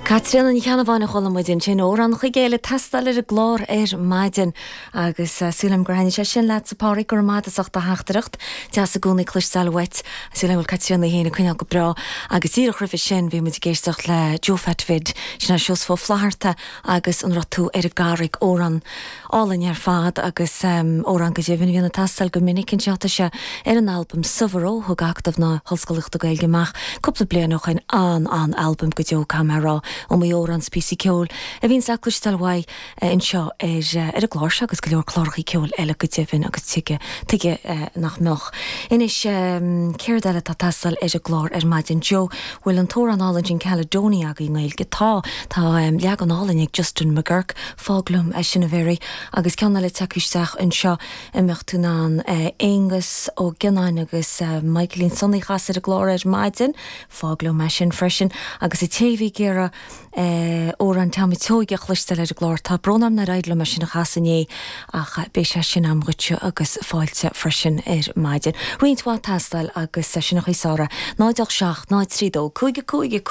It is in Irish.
Caitríona Ní Cheannabháin a chuala muid ansin, Amhrán Chuigéil ag teastáil ar an gclár ar maidin agus súil agam gur thaitnigh sé sin leatsa Páraic, go raibh maith agat as ucht do theachtaireacht. Deas i gcónaí cloisteáil uait. Súil agam go bhfuil Caitríona í féin ag coinneáil go breá agus díreach roimhe sin bhí muid ag éisteacht le Joe Phat Bhid, sin é Seosamh Ó Flaithearta agus An Raibh Tú ar an gCarraig, amhrán álainn ar fad agus amhrán go deimhin a bhíonn ag teastáil go minic anseo. Tá sé ar an albam Subhoró a thug Acadamh na hOllscolaíochta Gaeilge amach cúpla bliain ó shoin. An-an-albam go deo, caithfidh mé a rá. Iomaí amhrán 's píosaí ceoil a bhíonns le cloisteáil uaidh anseo ar ar an gclár seo agus go leor clárachaí ceoil eile go deimhin agus tuige tuige nach mbeadh. Anois céard eile atá ag teastáil ar an gclár ar maidin? Joe, bhfuil an t-amhrán álainn sin Caledonia agaibh i nGaeilge? Tá! Tá leagan álainn ag Justin McGuirk. Fág liom é sin a Mhary. Agus ceann eile tagtha isteach anseo, an mbeadh tú in ann Aonghus Ó Gionnáin agus Michaelín Sonaí a chasadh ar an gclár ar maidin? Fág liom é sin freisin. Agus an té a bhí ag iarraidh amhrán Tom Seoige a chloisteáil ar an gclár, tá brón orm nár éirigh liom é sin a chasadh inné ach beidh sé sin agam dhuitse agus fáilte freisin ar maidin. Roinnt mhaith ag teastáil agus sin an chaoi is fearr é. 0 8 7 0 3 2 5 5 5.